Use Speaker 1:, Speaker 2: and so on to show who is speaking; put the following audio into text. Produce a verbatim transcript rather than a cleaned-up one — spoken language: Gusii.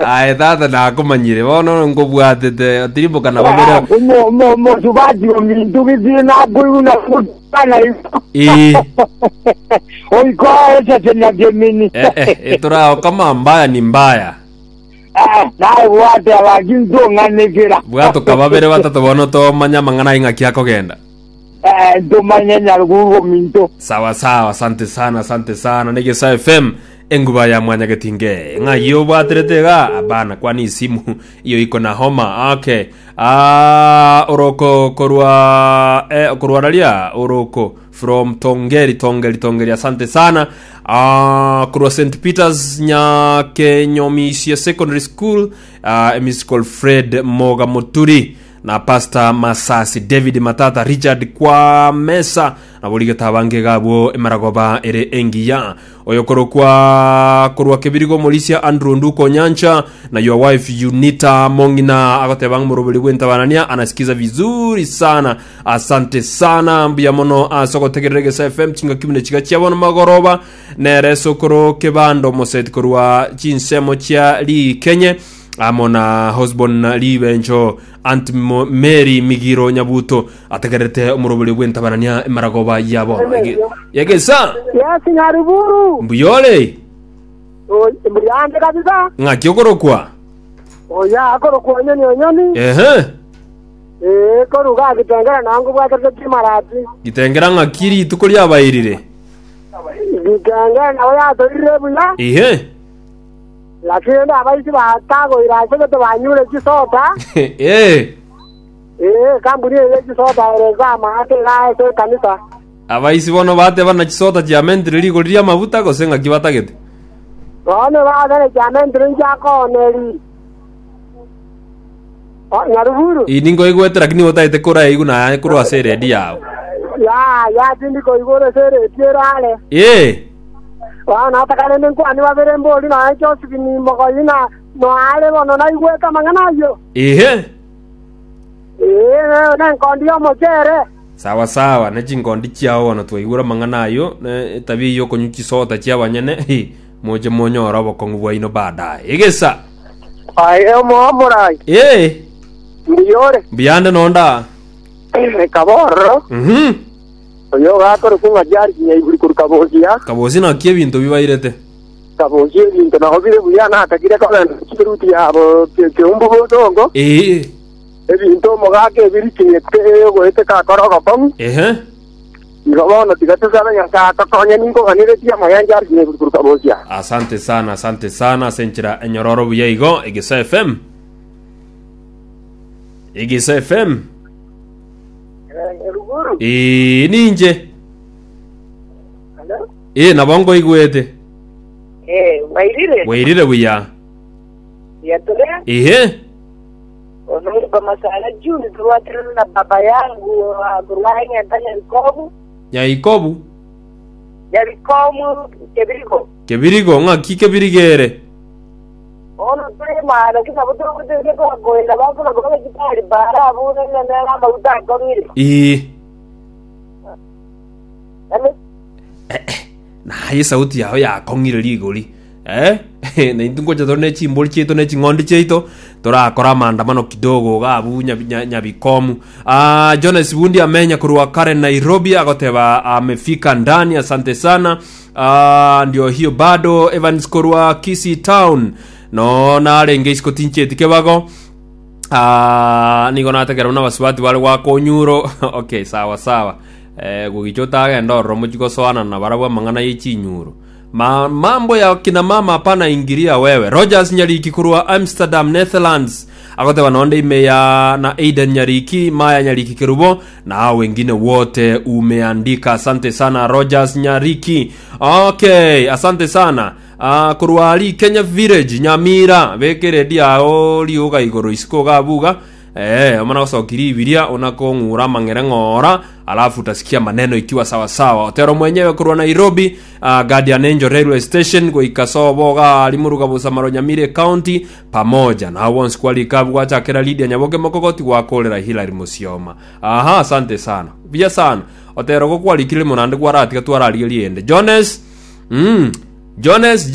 Speaker 1: Aye tata nakomanyire bono nkobwatete otirimboka na babere.
Speaker 2: Mosubati ominto githii nakoiguna gutana igo.
Speaker 1: Ii.
Speaker 2: Oiko esese kemini.
Speaker 1: Eh, eh, etorao kama mbaya ni mbaya.
Speaker 2: Naye bwate abaki ntong'anekera.
Speaker 1: Bwatoka babere batato bono tomanya amang'ana aye ng'aki akogenda.
Speaker 2: Eh, ntomanye Nyaruguru ominto.
Speaker 1: Sawa sawa, asante sana, asante sana. Negesa F M enguba ya mwanyagetinge ng'ai obwaterete iga abana kwani isimu iyo iko na homa. Okay, ah, oroko korwa eh, korwa raria oroko from Tongeri, Tongeri, Tongeri, asante sana. Ah, korwa Saint Peters Nyakenyomisia Secondary School, ah, musical Fred Moga Muturi na Pastor Masasi David Matata Richard kwa mesa na borigeta abange gabwo emaragoba ere engiya oyo korokwa korwa Kebirigo Morisia Andrew Nduko Nyancha na your wife Unita Mongina agoteba ng'omoroberi bwentabanania anasikiza vizuri sana. Asante sana, mbuya mono ase ogotegerera Egesa F M chingaki buna chiga chiabono magoroba nere sokoro kebando moseti korwa chinsemo chia rikenye amo na Hosbon Libencho Aunt Mo- Mary Migiro Nyabuto ategerete omoroberi bwentabanania emaragoba yabo yegesa.
Speaker 2: Yes, Nyaruguru.
Speaker 1: Mbuyore.
Speaker 2: Mbuyande kabisa.
Speaker 1: Ng'aki okorokwa?
Speaker 2: Oya akorokwa Onyoni, Onyoni.
Speaker 1: Ehe.
Speaker 2: Eh, koruga Gitengera nango bwaterete kimarati.
Speaker 1: Gitengera ng'aki rituko riabairire?
Speaker 2: Gitengera nabo yatorire buya.
Speaker 1: Ihe.
Speaker 2: Lakini abaisi batagoira ase gete banyure chisoda.
Speaker 1: Eh.
Speaker 2: Eh, kampuni eye chisoda ere amaate ase kanisa.
Speaker 1: Abaisi bono bateba na chisota chiamentire rigori ria amabuta gose ng'aki batagete?
Speaker 2: Bono bagere chiamentire nchiakooneri. Nyaruguru.
Speaker 1: Ii ningoigwete lakini otagete koraigu naye korwa ase eredi yao.
Speaker 2: Ya ya tindi koigoro ase eredi erare.
Speaker 1: Eh.
Speaker 2: Bono atakarende nkwani babere mbori naye Josephine Mogoyi na noare bono naigwete amang'ana ayio.
Speaker 1: Ihe.
Speaker 2: Ee, nenkondi y'omochere.
Speaker 1: Sawa sawa, ne chingondi chiao bono twaigure amang'ana ayo ne etabia eywo okonywa chisota chia abanyene hi, moche monyore obokong'u bwaino baadaye. Egesa.
Speaker 2: Aye omoamorai.
Speaker 1: Eh.
Speaker 2: Mbuyore.
Speaker 1: Mbuyande nonda.
Speaker 2: Kaborro.
Speaker 1: Mhm.
Speaker 2: Oyo gakore kunga jari nyaiguri kuru Kabosia.
Speaker 1: Kabosi naki ebinto bibairete?
Speaker 2: Kabosia ebinto naho bire buya natakire kogenda chiruti yabo keumbu bosongo.
Speaker 1: Ee.
Speaker 2: Ebinto omogaka ebirikinyete goeteka akora ogokong'u.
Speaker 1: Ehe.
Speaker 2: Igo bono tiga tusabe Nyasaye atokonye ninkoganiretie amaya jari nyaiguri kuru Kabosia.
Speaker 1: Asante sana, asante sana ase enchera enyororo buya igo. Egesa F M, Egesa F M.
Speaker 2: Ruguru.
Speaker 1: Ee, ninche. Ee, nabo nkoigwete.
Speaker 3: Eh, wairire.
Speaker 1: Wairire buya.
Speaker 3: Yatore.
Speaker 1: Ehe.
Speaker 3: Onomba masala Juni turwatirana na baba yangu kurwaing'enta Nyabikomu.
Speaker 1: Nyaikobu.
Speaker 3: Nyabikomu Kebirigo.
Speaker 1: Kebirigo ng'aki kebirigere?
Speaker 3: Ono turi mana kinabo turuguteke kogoenda bakuna kuba kitari bara abune nena amaguta akong'ire.
Speaker 1: Ee.
Speaker 3: Ame
Speaker 1: Naye sauti yao yakong'ire rigori eh na intwe ngocha tore ne chimbori chiaito ne ching'ondi chiaito torakora maandamano kidogo gabu Nyabi- Nya- nyabikomu. Ah, Jones Bundi amenya kurwa Karen Nairobi agoteba amefika ndani, asante sana. Ah, ndio hiyo bado Evans korwa Kisii Town no narenge isiko tincheti kebago. Ah, nigo nategera buna basubati bare gwaka onyuro. Okay, sawa sawa. Eh, gugicha otagenda ororo mochi gosoana na barabwo amang'ana ye chinyuro. Ma, mambo ya kina mama hapana ingiria wewe. Rogers Nyariki kurwa Amsterdam, Netherlands agoteba nonde ime ya na Aiden Nyariki, Maya Nyariki Kerubo na hao wengine wote umeandika. Asante sana Rogers Nyariki. Okay, asante sana. Uh, kurwa ali Kenya Village Nyamira bekeredi yao riuga igoro isiko gabuga eh omana gocokiri ibiria unakong'ura mang'ere ng'ora alafu utasikia maneno ikiwa sawa sawa. Otero mwenyewe kurwa Nairobi, uh, Guardian Angel Railway Station goika sobo ga limuruga busamaro Nyamire County pamoja na hao bonsi kwalikabu gwachakera Lydia Nyaboke mokogoti gwakorera Hilary Musioma. Aha, asante sana buya sana Otero gokwarikire munande gwaratiga twararigerie ende Jones mm. Jones.